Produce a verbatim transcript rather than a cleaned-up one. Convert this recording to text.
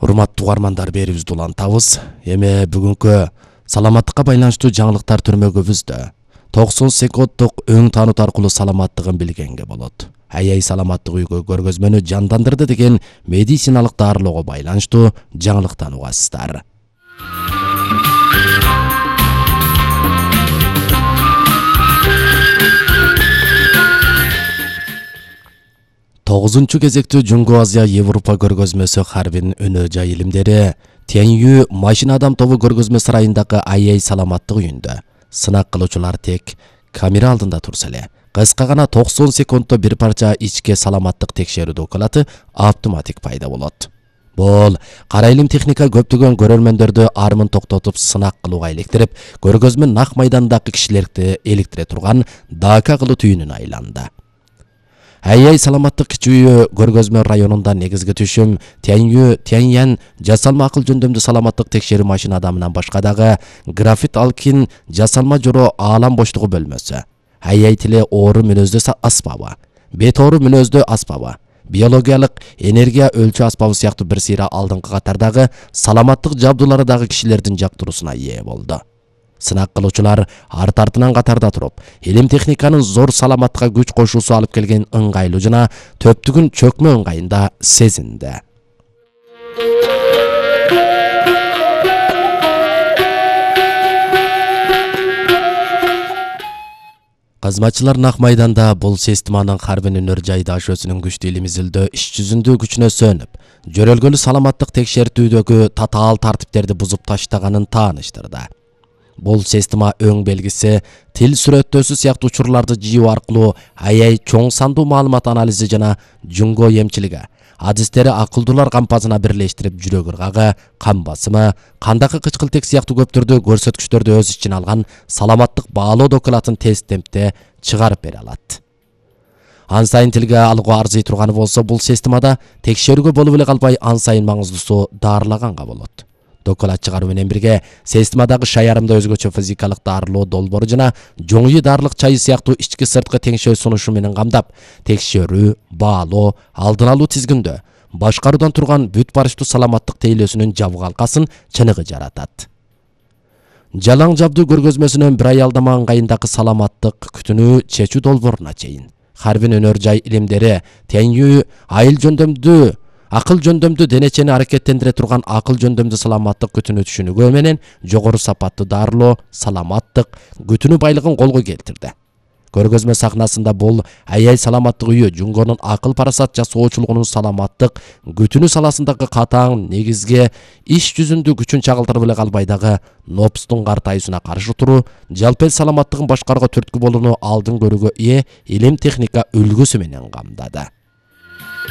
Урматтуу угармандар, берибизди улантабыз. Эми бүгүнкү саламаттыкка байланыштуу жаңылыктар түрмөгүбүздө токсон секунддук өң таанут аркылуу саламаттыгын билгенге болот. Аяй саламаттык үйгө көргөзмөнү жандандырды деген медициналык дарылоого байланыштуу жаңылыктан угасыздар. тогузунчу кезектүү Жунгу Азия Европа көргөзмөсү Харбин өнөө жай илимдери Тянью машина адам тобу көргөзмө сарайындагы аяй саламаттык үйүндө сынак кылуучулар тек камера алдында турса эле кыска гана токсон секунддо бир парча ичке саламаттык текшерүү докуматы автоматик пайда болот. Бул кара илим техника көптөгөн көрөрмөндөрдү армын токтотуп сынак кылууга иликтирип, көргөзмө нак майдандагы кишилерди иликтире турган дака кылуу түйүнүнө айланды. Аяй саламаттык кичүү көргөзмө районунда негизги түшүм Тянью Тяньян жасалма акыл жөндөмдүү саламаттык текшерүү машина адамынан башка дагы графит алкин жасалма жоро аалам боштугу бөлмөсү, аяй тили оору мүнөздүү аспабы, бет оору мүнөздүү аспабы, биологиялык энергия өлчөө аспабы сыяктуу бир сыйра алдыңкы катардагы саламаттык жабдуулары дагы кишилердин жактыруусуна ээ болду. Сынак кылуучулар арт артынан катарда туруп, илим техниканын зор саламаттыкка күч кошуусу алып келген ыңгайлуу жана төптүгүн чөкмө ыңгайында сезинди. Кызматчылар нак майданда бул системанын Харбин өнөр жайда ашөсүнүн күчтүү илим изилдөө иш жүзүндө күчүнө сөнүп, жөрөлгөлүү саламаттык текшертүүдөгү татаал тартиптерди бузуп таштаганын тааныштырды. Бул система өң белгиси тил сүрөттөөсү сыяктуу учурларды жыйуу аркылуу аяй чоң сандуу маалымат анализи жана жунго эмчилиги адистери акылдуулар кампасына бирлештирип жүрөк ыргагы, кан басымы, кандагы кычкылтек сыяктуу көптөрдү көрсөткүчтөрдү өз ичине алган саламаттык баалоо докуматын тез темпте чыгарып бере алат. Ан сайын тилге алууга арзый турганы болсо, бул системада текшерүүгө болуп эле калбай ан сайын маңыздуусу дарылаганга болот. Доклад чыгаруу менен бирге системадагы шаярымда өзгөчө физикалык дарылоо долбоору жана жоңуй дарылык чайы сыяктуу ички сырткы теңшөө сунушу менен камдап, текшерүү, баалоо, алдын алуу тизгиндөө, башкаруудан турган бүт барыштуу саламаттык тейлөөсүнүн жабык алкасын чыныгы жаратат. Жалаң жабдуу көргөзмөсүнөн бир ай алдама ыңгайындагы саламаттык күтүүнү чечүү долбооруна чейин Харбин өнөр жай илимдери Тянью айыл жөндөмдүү акыл жөндөмдүү денечени аракеттендире турган акыл жөндөмдүү саламаттык күтүүнү түшүнүгү менен жогору сапаттуу дарылоо, саламаттык күтүүнү байлыгын колго келтирди. Көргөзмө сахнасында бул аяй саламаттык үйү Жунгонун акыл парасат жасоочулугунун саламаттык күтүүнү саласындагы катаң негизге иш жүзүндө күчүн чагылтырып эле калбай дагы нопстун картайуусуна каршы туруу, жалпы эл саламаттыгын башкарууга түрткү болууну алдын көрүүгө ээ илим техника үлгүсү менен камдады.